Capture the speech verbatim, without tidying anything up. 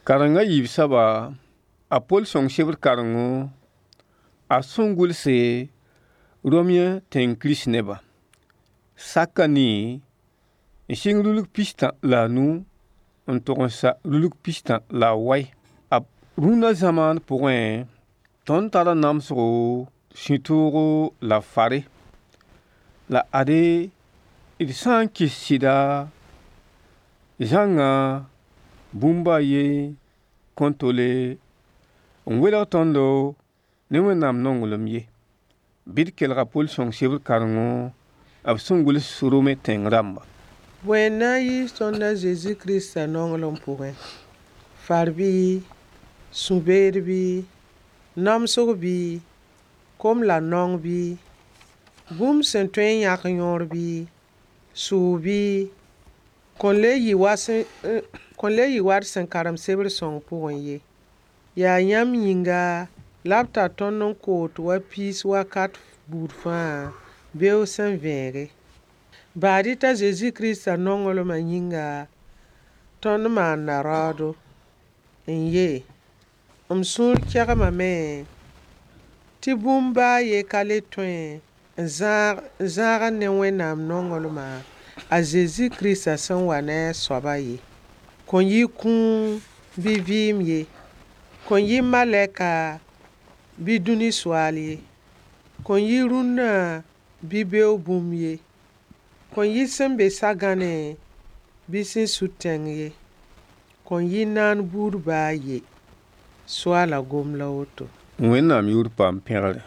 Kareng a yiib soaba, a Pol sõng sebr karengo a sẽn gʋlse Romẽ tẽng kirist nebã. Sak a nii n sɩng rulg pistã la a nu n tog n sa rulg pistã la a wai. A rũnna zamaan pʋgẽ, tõnd tara namsgo, sũ-toogo la fare. La ade, d sã n kɩs sɩda, zãngã bũmb ba a ye kõn tole n welg tõndo ne Wẽnnaam nonglem ye. Bɩ d kelg a Pol sõng sebr karengo b sẽn gʋls Rome tẽng rãmba. Bõe n na n yiis tõnd a Zezi Kirista nonglem pʋgẽ? Far bɩ, sũ-beed bɩ, namsg bɩ, kom la naong bɩ, bũmb sẽn tõe n yãk yõor bɩ, sʋʋg bɩ, kõn le yɩ wa kõn le yɩ wa d sẽn karem sebr sõng pʋgẽ ye. Yaa yãmb yĩnga la b tar tõnd n koot wa piis wakat buud fãa beoog sẽn vẽege. Baad-y t'a Zezi Kirista nonglmã yĩnga, tõnd maanda raoodo. N ye, m sũur kegmame tɩ bũmb baa a ye ka le tõe n zãag ne Wẽnnaam nonglmã a Zezi Kirista sẽn wa ne a soabã ye. Kõn yɩ kũum bɩ vɩɩm ye, kõn yɩ malɛka bɩ dũni soaal ye, kõn yɩ rũnnã bɩ beoog bũmb ye, kõn yɩ sẽn be sagãnẽ bɩ sẽn sud tẽng ye, kõn yɩ naan buud baa a ye. Soaala gom la woto. Wẽnnaam yʋʋr paam pẽgre.